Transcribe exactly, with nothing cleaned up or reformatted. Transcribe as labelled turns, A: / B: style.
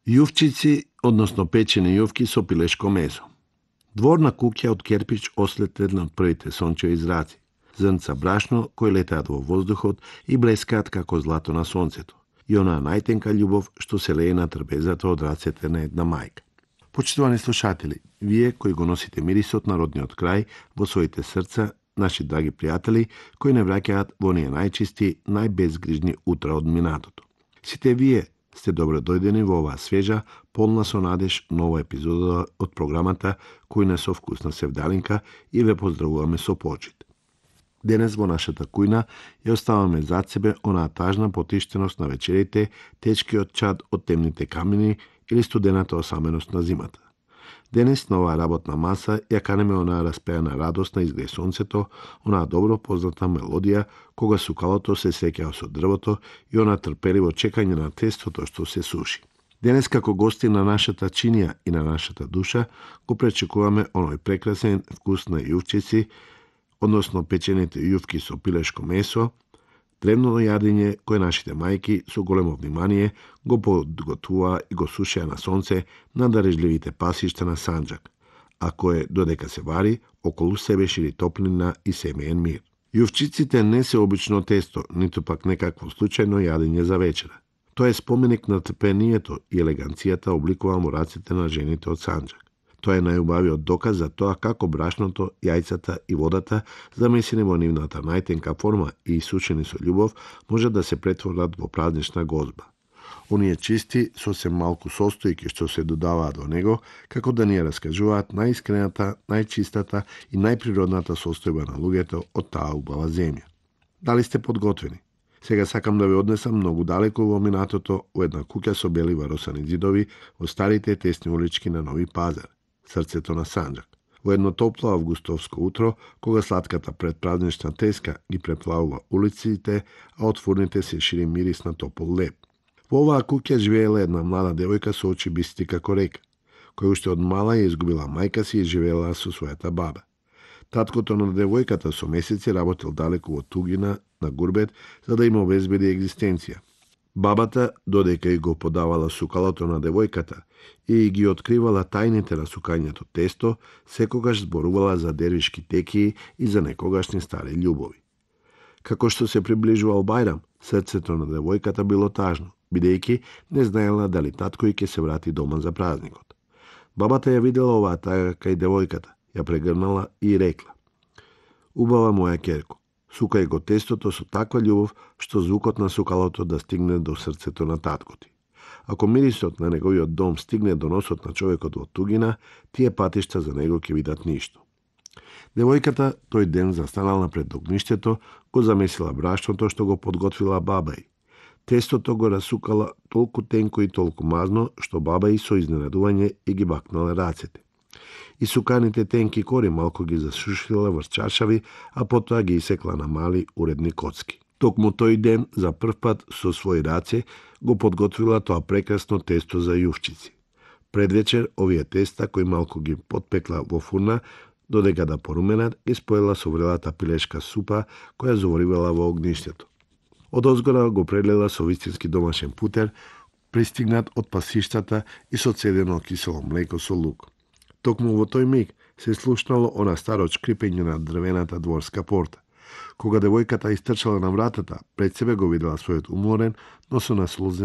A: Јувчици, односно печени јувки со пилешко месо. Дворна куќа од керпич ослетена од првите сончеви зраци. Зрнца брашно кои летаат во воздухот и блескаат како злато на сонцето. И онаа најтенка љубов што се лее на трпезата од рацете на една мајка. Почитувани слушатели, вие кои го носите мирисот на родниот крај во своите срца, наши драги пријатели кои не враќаат во оние најчисти, најбезгрижни утра од минатото. Сите вие сте добро дојдени во оваа свежа, полна со надеж нова епизода од програмата Кујна со вкусна севдалинка и ве поздравуваме со почит. Денес во нашата кујна ја оставаме зад себе онаа тажна потиштеност на вечерите, течкиот чад од темните камини или студената осаменост на зимата. Денес на оваа работна маса ја канеме онаа распеана радост на изгреј сонцето, онаа добро позната мелодија кога сукалото се среќава со дрвото и она трпеливо чекање на тестото што се суши. Денес како гости на нашата чинија и на нашата душа го пречекуваме оној прекрасен вкус на јувчици, односно печените јувки со пилешко месо, древно јадење кое нашите мајки со големо внимание го подготвуваа и го сушеа на сонце на дарежливите пасишта на Санџак, а кое додека се вари, околу себе шири топлина и семеен мир. Јувчиците не се обично тесто, ниту пак некакво случајно јадење за вечера. Тоа е споменик на трпението и елеганцијата обликувано раците на жените од Санџак. Тоа е најубавиот доказ за тоа како брашното, јајцата и водата, замесени во нивната најтенка форма и сушени со љубов, може да се претворат во празнична гозба. Оние чисти, сосем малку состојки што се додаваат во него, како да ни ја раскажуваат најискрената, најчистата и најприродната состојба на луѓето од таа убава земја. Дали сте подготвени? Сега сакам да ве однесам многу далеку во минатото, во една куќа со бели варосани ѕидови во старите тесни улички на Нови Пазар, срцето на Санџак. Во едно топло августовско утро, кога сладката предпразнична треска ги преплавува улиците, а од фурните се шири мирис на топол леб. Во оваа куќа живеела една млада девојка со очи бисти како река, која уште од мала ја изгубила мајка си и живеела со својата баба. Таткото на девојката со месеци работел далеку во тугина на гурбет за да им обезбеди екзистенција. Бабата, додека и го подавала сукалото на девојката и ги откривала тајните на сукањето тесто, секогаш зборувала за дервишки текии и за некогашни стари љубови. Како што се приближувал Бајрам, срцето на девојката било тажно, бидејќи не знаела дали татко и ќе се врати дома за празникот. Бабата ја видела оваа тага кај девојката, ја прегрнала и рекла: "Убава моја ќерко, сукај го тестото со таква љубов што звукот на сукалото да стигне до срцето на татко ти. Ако мирисот на неговиот дом стигне до носот на човекот во тугина, тие патишта за него ќе видат ништо." Девојката тој ден застанала пред огништето, го замесила брашното што го подготвила баба й. Тестото го расукала толку тенко и толку мазно, што баба й со изненадување и ги бакнала рацете. И суканите тенки кори малку ги засушила врз чаршави, а потоа ги исекла на мали уредни коцки. Токму тој ден, за прв пат со своји раце, го подготвила тоа прекрасно тесто за јувчици. Пред вечер, овие теста, кои малку ги подпекла во фурна, додека да поруменат, ги споела со врелата пилешка супа, која заворивала во огништето. Од озгора го прелила со вистински домашен путер, пристигнат од пасиштата и со цедено кисело млеко со лук. Токму во тој миг се слушнало она старо шкрипење на дрвената дворска порта. Кога девојката истрчала на вратата, пред себе го видела својот уморен, но со наслузен